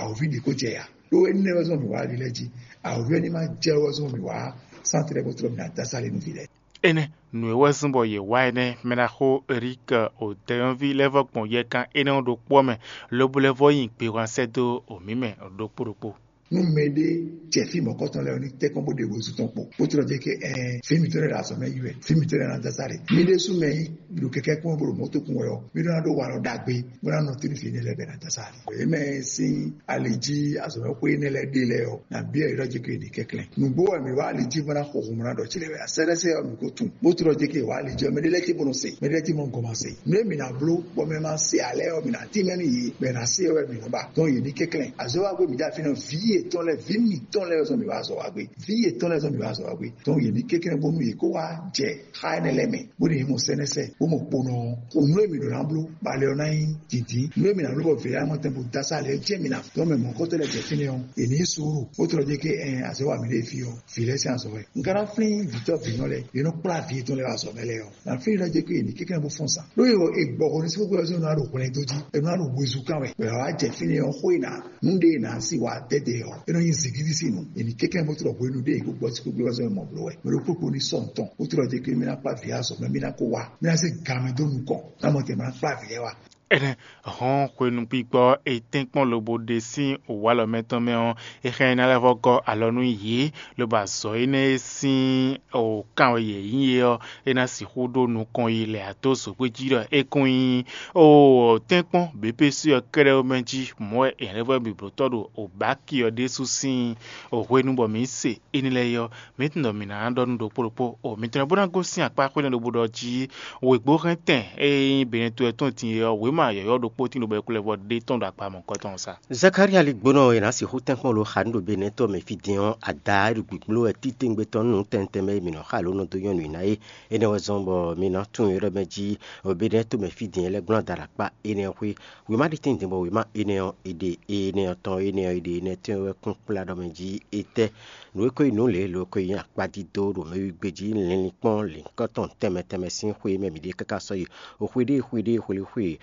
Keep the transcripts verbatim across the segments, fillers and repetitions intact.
awǒvi ɖě ko jɛ ya. Ɖó énɛ́ wɛ zɔ́n mǐ wá ɖi lɛ́ɛ jí. Awǒvi ɔ́ ní ma jɛ wɛ zɔ́n mǐ wá sánte lɛ́ɛ bó tlɔ́ mǐ ná dó asá lě nú vǐ lɛ́ɛ. Énɛ́ nǔ e wɛ zɔ́n bɔ yě wá énɛ́, mɛɖaxó Erik, o dɛyɔ́nví lɛ́ɛ vɔ́ gbɔn yɛkan énɛ́ ɔ́ ɖokpó ɔ́ mɛ, lobo lɛ́ vɔ́ nyi gbewán sɛ́ dó o mǐ mɛ ɖokpó ɖokpó. Nú mɛɖé jɛ fí mɔ̌kɔtɔn lɛ́ɛ ɔ́, ní tɛ́nkpɔ́n bó ɖe wezun tɔn kpo, bó tlɔ́ jɛ kɛ ɛɛ fí mitɔn lɛ́ɛ ɖo azɔ̌ mɛ yi wɛ, fí mitɔn lɛ́ɛ ná dó asá lě. Mí ɖésú mɛ nyí ɖo kɛkɛ́ kpɔ́n bó ɖo mɔ̌ tó kún wɛ ɔ́, mí ɖó ná ɖó walɔ ɖagbe, bó ná nɔ te nú vǐ énɛ́ lɛ́ɛ bɔ è nǎ dó asá lě. Yě mɛ sín ali jí azɔ̌mɛxwé énɛ́ lɛ́ɛ ɖe lɛ́ɛ ɔ́, nǎ byɔ́ yě ɖɔ jɛ kɛ yě ní kɛnklɛ́n. Nǔgbó wɛ mǐ wá ali jí bó ná xo hun bó ná ɖɔ cí lɛ́ɛ wɛ. Sɛ́ɖɛ́sɛ́ ɔ́, mǐ ko tunwun, bó tlɔ́ jɛ kɛ wá ali jí ɔ́, mɛɖé lɛ́ɛ cí bó nɔ se, mɛɖé lɛ́ɛ cí mɔ gɔn ma se. Nǔ e mǐ ná bló bɔ mɛ ma se ǎ lɛ́ɛ ɔ́, mǐ ná tínmɛ nú yě, bɔ è nǎ se ɔ́ wɛ mǐ nɔ ba. Dɔn yě ní kɛnklɛ́n. Azɔ̌ wa gbé mǐ dó afi nɔ, vǐ yětɔn lɛ́ɛ, vǐ mǐtɔn lɛ́ɛ zɔn mǐ wá azɔ̌ wa gbé. Vǐ yětɔn lɛ́ɛ zɔn mǐ wá azɔ̌ wa gbé. Dɔn yě ní kɛnklɛ́n bónú yě kó wá jɛ xá énɛ́ lɛ́ɛ mɛ, bó ɖe nyí mɔ sɛ́nɛ́sɛ, bó mɔ kponɔ ɔ́. Xo nǔ e mǐ ɖǒ ná bló, balɛ ɔ́ ná nyí dǐndín. Nǔ e mǐ ná bló bɔ vǐ lɛ́ɛ ná mɔ tɛn bó dó asá lɛ́ɛ jɛ́n mǐ ná dɔn mɛ mɔ̌kɔtɔ́ lɛ́ɛ jɛ fínɛ́ ɔ́, è nǐ yi suúlu, bó tlɔ́ jɛ kɛ ɛn azɔ̌ wa mǐ ɖe fí ɔ́, vǐ lɛ́ɛ sín azɔ̌ wɛ. Un ka ná flín vǐtɔ́ vǐnɔ lɛ́ɛ, yě nɔ kplá vǐ yětɔn lɛ́ɛ wá azɔ̌ mɛ lɛ́ɛ ɔ́. Ná flín ɖɔ jɛ kɛ è nǐ kɛnklɛ́n bó fɔ́n sa. Ɖó è gbɔ hɔn ní sí kókó ɔ́ ná ɖo hwlɛ́ndó jí, è nɔ ná ɖo wezun kán wɛ. Bɔ è wá jɛ fínɛ́ ɔ́, xó e ná nǔ ɖé e nǎ sí wá dɛdɛ ɔ́, é nɔ nyí zǐngídi sín nǔ. È nǐ kɛnklɛ́n bó tlɔ́ hwenu ɖé è kó gbɔ sí kókó ɔ́ mɔ bló wɛ. Mɛ ɖokpó kpo ní sɔ́ nǔ tɔn, bó tlɔ́ jɛ kɛ mì ná kplá vǐ azɔ̌ mɛ, mì ná kó wá, mì ná zé gan mɛ dó nukɔn, ná mɔ tɛn mì ná kplá vǐ lɛ́ɛ wá. Énɛ́ hɔn hwenu gbígbɔ e tɛ́nkpɔ́n lobo ɖe sín wǒwalɔ mɛtɔn mɛ ɔ́, é hɛn ná lɛ́ vɔ́ gɔ́ alɔ nú yě, lobo azɔ̌ énɛ́ e sín wǒkan wɛ yě nyí é ɔ́, é ná sixú ɖó nukɔn yi lɛ ǎ dó zogbé jí ɖɔ é kún nyí tɛ́nkpɔ́n běbési ɔ́ kɛ́ɖɛ́ ɔ́ mɛ jí. Mɔ̌ wɛ è lɛ́ vɔ́ mì blǒtɔ́ ɖo Obaki ɔ́ ɖésú sín hwenu bɔ mǐ se énɛ́ lɛ́ɛ é ɔ́, mǐ tunwun ɖɔ mǐ ná ɖɔ nú ɖokpó ɖokpó o mitɔn bó ná gosín akpá xwé nɛ́ ɖokpó ɖɔ jí wěgbó hɛn tɛn e nyí Benɛto wɛ tɔn din é ɔ́, wěma yɔ̌yɔ́ ɖokpó tín ɖo bɔ è kplɔ́ vɔ ɖé tɔn ɖo akpa mɔ̌kɔtɔn sa. Zakalía lí gbónɔ e nǎ sixú tɛ́nkpɔ́n lo xa nú ɖo Benɛto mɛ fí din ɔ́, ada e ɖo gbǐgblo wɛ títewungbe tɔn nú nǔ tɛntɛn mɛ e mǐ nɔ xa lǒ nɔ dó nyɔ́ nǔ ná é. Énɛ́ wɛ zɔ́n bɔ mi ná tunwun yrɔ́ mɛ jí Benɛto mɛ fí din lɛ́ɛ gblɔ́n ada ɖo akpá énɛ́ ɔ́ xwé. Wěma ɖé tɛ́ntin bɔ wěma énɛ́ ɔ́, è ɖe énɛ́ ɔ́ tɔn, énɛ́ ɔ́, è ɖe énɛ́ tɛ́nwe wɛ kún kplá ɖɔ mɛ jí étɛ́ nǔ e ko nyí nǔ lě lo ko nyí akpá dídó ɖo mɛwígbé jí, linlin kpɔ́n lǐnkɔ́ tɔn tɛnmɛ tɛnmɛ sín xwe e mɛ mǐ ɖe káká sɔ́ yi. O xwe ɖé xwe ɖé xwelixwe,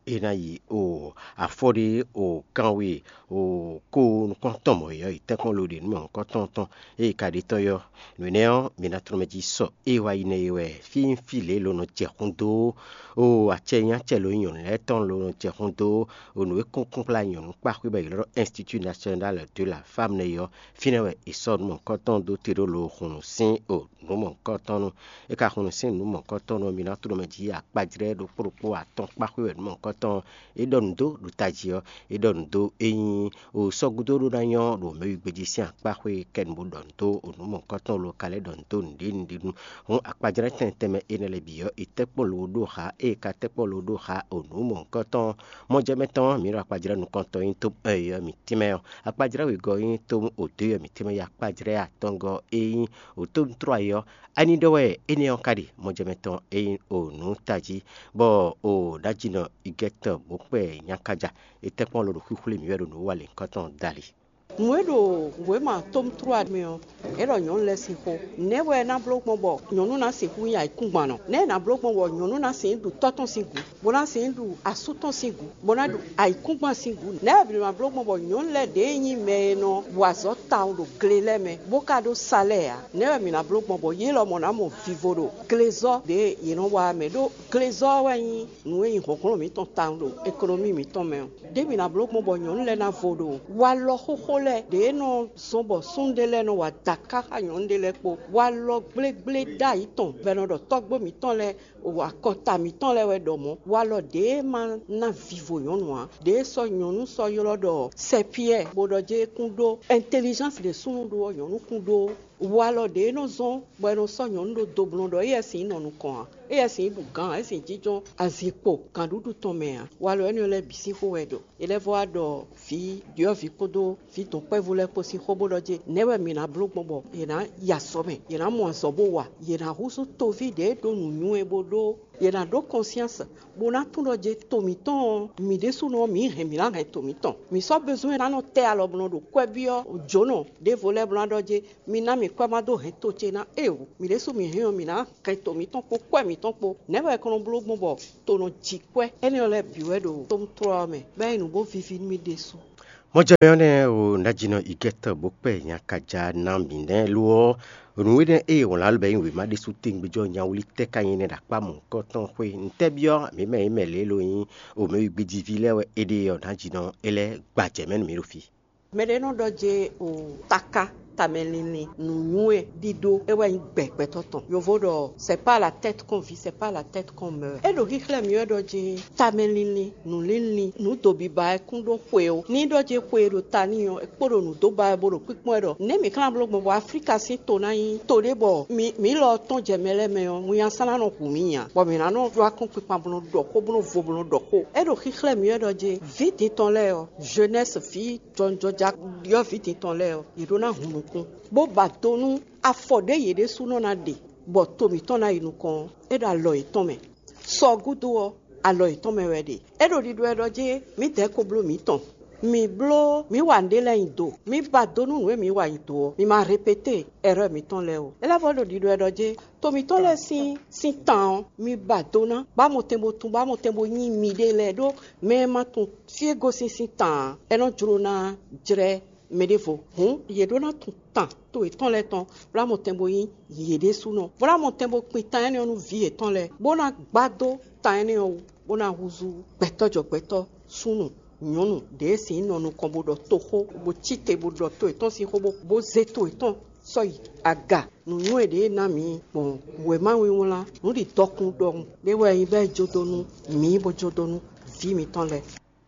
e ná yi o afɔ ɖé o kanwe o ko nukɔn tɔn mɔ̌ yɔ́ yi tɛ́nkpɔ́n lo ɖe nǔ mɛ nukɔn tɔn tɔn, eye ka ɖe tɔn yɔ́. Nǔ énɛ́ ɔ́, mi ná tlɔ́ mɛ jí sɔ e wá yi nɛ́ é wɛ. Fí nyí fí lě lo nɔ jɛ xún dó o acɛ nyí acɛ lo nyí nyɔ̌nu lɛ́ɛ tɔn lo nɔ jɛ xún dó o nǔ e kúnkún kplá nyɔ̌nu kpá xwé bɔ è ylɔ́ ɖɔ Institut National de la Femme nɛ́ é ɔ́, fínɛ́ wɛ è sɔ́ nǔ mɔ̌hunkɔtɔn dó te ɖó lo hun nǔ sín o nǔ mɔ̌hunkɔtɔn nu. É ka hun nǔ sín nǔ mɔ̌hunkɔtɔn nu ɔ́, mi ná tlɔ́ mɛ jí akpajlɛ́ ɖokpó ɖokpó atɔn kpá xwé wɛ nǔ mɔ̌hunkɔtɔn ɔ́, é ɖɔ nǔ dó ɖo tají ɔ́, é ɖɔ nǔ dó é nyí o sɔ́ gúdo ɖó ná nyɔ́ ɖo mɛwígbé jí sín akpá xwé kɛ́ nǔ bó ɖɔ nǔ dó o nǔ mɔ̌hunkɔtɔn lo ka lɛ́ ɖɔ nǔ dó nǔɖé nǔɖé nu. Hǔn akpajlɛ́ tɛnmɛ tɛnmɛ énɛ́ lɛ́ɛ bǐ ɔ́, è tɛ́ kpɔ́n lobo ɖó xa, ée è ka tɛ́ kpɔ́n lobo ɖó xa o nǔ mɔ̌hunkɔtɔn ɔ́, mɔjɛmɛ tɔn ɔ́, mǐ ɖo akpajlɛ́ nukɔntɔn nyí tó ɛyɔ mǐtɛn mɛ ɔ́, akpajlɛ́ wěgɔ́ nyí tó o dó yɔ mǐtɛn mɛ yi akpajlɛ́ atɔngɔ́ e nyí o tó trɔ ayɔ. Ani ɖɔ wɛ énɛ́ ɔ́ ka ɖe mɔjɛmɛ tɔn e nyí o nǔ tají, bɔ o ɖajínɔ igɛtɔn bó kpɛ nyakaja. È tɛ́ kpɔ́n lo ɖo xwíxwlé mǐ wɛ ɖo nǔ wa lěhunkɔtɔn dali. Nǔ e ɖo wěma tómtrúwa mɛ ɔ́, é ɖɔ nyɔ̌nu lɛ́ɛ sín xó. Nɛ̌ wɛ é ná bló gbɔn bɔ nyɔ̌nu ná sixú nyí ayǐkúngban nɔ? Nɛ̌ è nǎ bló gbɔn bɔ nyɔ̌nu ná sixú ɖu tɔ́ tɔn sín gǔ, bó ná sixú ɖu asú tɔn sín gǔ, bó ná ɖu ayǐkúngban sín gǔ? Nɛ̌ wɛ mǐ ná bló gbɔn bɔ nyɔ̌nu lɛ́ɛ ɖě nyí mɛ e nɔ wa azɔ̌ tawun ɖo gle lɛ́ɛ mɛ, bó ka ɖó salɛ́ɛ ǎ? Nɛ̌ wɛ mǐ ná bló gbɔn bɔ yě lɔmɔ̌ ná mɔ vivo ɖo glezɔ́ ɖě yě nɔ wa ɔ́ mɛ? Ɖó glezɔ́ ɔ́ wɛ nyí nǔ e nyí hlɔ̌nhlɔ́n mǐtɔn tawun ɖo ekɔnɔmí mǐtɔn mɛ ɔ́. Ɖěbǔ ná bló gbɔn bɔ nyɔ̌nu lɛ́ɛ ná vo ɖo walɔ xóxó lɛ́ɛ ɖě nɔ zɔ́n bɔ súnnu ɖé lɛ́ɛ nɔ wa dǎká xá nyɔ̌nu ɖé lɛ́ɛ kpó. Walɔ gblégblé ɖ'ayǐ tɔn bɔ è nɔ ɖɔ tɔ́gbó mǐtɔn lɛ́ɛ, akɔta mǐtɔn lɛ́ɛ wɛ ɖɔ mɔ̌. Walɔ ɖě ma ná vivo nyɔ̌nu ǎ, ɖě sɔ́ nyɔ̌nu sɔ́ ylɔ́ ɖɔ sɛpyɛ́, bó ɖɔ jɛ́n é kún ɖó ɛntelizánsi ɖě súnnu ɖó ɔ́, nyɔ̌nu kún ɖó. Walɔ ɖě e nɔ zɔ́n bɔ è nɔ sɔ́ nyɔ̌nu ɖó doblɔn ɖɔ éyɛ́ sin nɔ nukɔn ǎ, éyɛ́ sin ɖu gǎn ǎ, é sin jínjɔ́n azinkpo gǎnɖuɖu tɔn mɛ ǎ. Walɔ énɛ́ lɛ́ɛ bǐ sín xó wɛ ɖɔ. È lɛ́ vɔ́ wá ɖɔ vǐ ɖyɔ̌vǐ kpódó vǐ dɔ̌nkpɛvú lɛ́ɛ kpó sín xó bó ɖɔ jɛ́n nɛ̌ wɛ mǐ ná bló gbɔn bɔ yě ná yi azɔ̌ mɛ, yě ná mɔ azɔ̌ bó wa, yɛ ná húzú toví ɖě ɖó nǔnywɛ́ bó ɖó, yě ná ɖó kɔnsyáns bó ná tunwun ɖɔ jɛ́n to mǐtɔn ɔ́, mǐ ɖésúnɔ ɔ́, mǐ hɛn mǐ ná hɛn to mǐtɔn. Mǐ sɔ́ bezwɛ́n ná nɔ tɛ́ alɔ bó nɔ ɖo kwɛ́ byɔ́ jǒnɔ ɖěvo lɛ́ɛ bó ná ɖɔ jɛ́n mi ná mì kwɛ́ má dó hɛn to ce ná eo. Mǐ ɖésú mǐ hɛn ɔ́, mǐ ná hɛn to mǐtɔn kpó kwɛ́ mǐtɔn kpó. Nɛ̌ wɛ è ko nɔ bló gbɔn bɔ to nɔ ji kwɛ́? Énɛ́ ɔ́ lɛ́ɛ bǐ wɛ ɖo tomtrɔ́ ɔ́ mɛ, bɔ é nyí nǔ bó víví nú mì ɖésú. Mɔjɛmɛ ɔ́ nɛ́ o nǎjínɔ igɛ́tɔ́ bó kpɛ nyakaja ná mǐ nɛ́ lo ɔ́, nǔ énɛ́ e wlǎn lɔ bɛ nyí wěma ɖésú tɛngbéjɔ nyawlí tɛ́ ka nyí nɛ́ ɖo akpá mɔ̌hunkɔtɔn xwé ntɛ́ byɔ́ mǐ mɛ e mɛ lě lo nyí o mɛ e gbéjiví lɛ́ɛ wɛ é ɖe ɔ́ nǎjínɔ é lɛ́ gbajɛ mɛ nú mǐ ɖo fí. Mɛɖé nɔ ɖɔ jɛ o taka tamɛlinlin nǔnywɛ́ ɖíɖó é wɛ nyí gbɛ gbɛtɔ́ tɔn. Yovo ɖɔ c'est pas la tête qu'on vit, c'est pas la tête qu'on meurt. É ɖo xíxlɛ́ mì wɛ ɖɔ jɛ tamɛlinlin nǔlinlin nǔ do biba wɛ kún ɖó xwe ó. Ní ɖɔ jɛ xwe e ɖo ta n'i ɔ́, é kpo ɖo nǔ dó ba wɛ bó ɖo kpíkpɔ́n wɛ ɖɔ nɛ̌ mǐ xlán bló gbɔn bɔ Aflíka sín to ná nyí to ɖé bɔ mǐ mǐ lɔ tɔn jɛ mɛ lɛ́ɛ mɛ ɔ́, winnyasán ná nɔ hu mǐ nya, bɔ mǐ ná nɔ ɖó akɔ́nkpinkpan bó nɔ ɖɔ xó bó nɔ vo bó nɔ ɖɔ xó. É ɖo xíxlɛ́ mǐ wɛ ɖɔ jɛ vǐ din tɔn lɛ́ɛ ɔ́, jeunesse vǐ jɔnjɔja ɖyɔ́vǐ din tɔn lɛ́ɛ ɔ́, yě ɖó ná hun nukún, bó ba do nú afɔ ɖě yě ɖésúnɔ ná ɖe, bɔ to mǐtɔn ná yi nukɔn ɔ́, é ɖo alɔ yětɔn mɛ. Sɔ gúdo ɔ́, alɔ yětɔn mɛ wɛ ɖe. É ɖo ɖiɖɔ wɛ ɖɔ jɛ́n mǐdɛɛ ko bló mǐtɔn. Mǐ bló mǐ wa nǔɖé lɛ́ɛ nyi do. Mǐ ba do nú nǔ e mǐ wa nyi do ɔ́. Mǐ ma répété ɛrɛ́ mǐtɔn lɛ́ɛ ó. É lɛ́ vɔ ɖo ɖiɖɔ wɛ ɖɔ jɛ́n to mǐtɔn lɛ́ɛ sín sín tan ɔ́, mi ba do ná, bó amɔtɛn bo tunwun, bó amɔtɛn bo nyí miɖée lɛ́ɛ ɖó mɛ e ma tunwun fí e gosín sín tan ǎ, é nɔ jló ná jlɛ́ mɛ ɖěvo. Hǔn yě ɖó ná tunwun tan to yětɔn lɛ́ɛ tɔn, bó amɔtɛn bo nyí yě ɖésúnɔ, bó ná amɔtɛn bo kpin tan énɛ́ ɔ́ nú vǐ yětɔn lɛ́ɛ, bó ná gbá dó tan énɛ́ ɔ́ wú, bó ná húzú gbɛtɔ́ jɔ gbɛtɔ́, súnnu, nyɔ̌nu ɖě e sin nɔ nukɔn bó ɖɔ toxó, bó cí te bó ɖɔ to yětɔn sín xó, bó zé to yětɔn sɔ́ yi aga. Nǔnywɛ́ ɖě e ná mǐ gbɔn wěma wínwlán nǔɖiɖɔkun ɖɔhun ɖé wɛ nyí bɔ é jó dó nú mǐ, bó jó dó nú vǐ mǐtɔn lɛ́ɛ.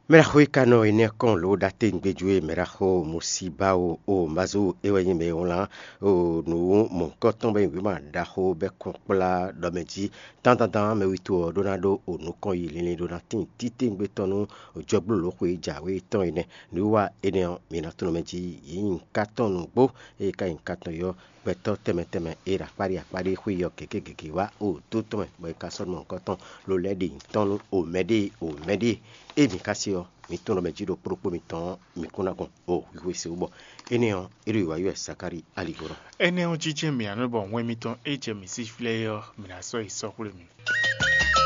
Mɛɖaxó e ka nɔ énɛ́ kɔn lǒ ɖatégbéjú e mɛɖaxó Musíbawo o Mazu é wɛ nyí mɛ e wlán o nǔ mɔ̌hunkɔtɔn bɔ é nyí wěma ɖaxó bɔ é kɔn kplá ɖɔ mɛ jí. Dandandan mɛ wútu ɔ́ ɖó ná ɖó o nukɔn yi linlin ɖó ná tín títewungbe tɔn nú jɔgbólǒxwe jǎwe tɔn énɛ́. Nǔwiwa énɛ́ ɔ́, mi ná tunwun mɛ jí yě nyí nǔkatɔn nǔgbó, eye ka nyí nǔkatɔn yɔ́ gbɛtɔ́ tɛnmɛ tɛnmɛ e ɖo akpáɖí akpáɖí xwé yi ɔ́ gěgé gěgé wá o dó tɔn mɛ, bɔ è ka sɔ́ nɔ nukɔn tɔn lo lɛ́ ɖe nyǐtɔn nú o mɛɖée o mɛɖée. Ée mǐ ka se ɔ́, mǐ tunwun ɖɔ mɛ jí ɖo kplɔ́kpó mitɔn ɔ́, mǐ kún ná gɔn o xwixwe se wú bɔ énɛ́ ɔ́, é ɖo wǐwá yi wɛ Zakári ali gɔ́ nɔ. Énɛ́ ɔ́ jínjɛ́n mǐ ná nɔ bɔ wɛn mitɔn e jɛ mǐ sí flɛ́ é ɔ́, mǐ ná sɔ́ yi sɔ́ xwlé mì.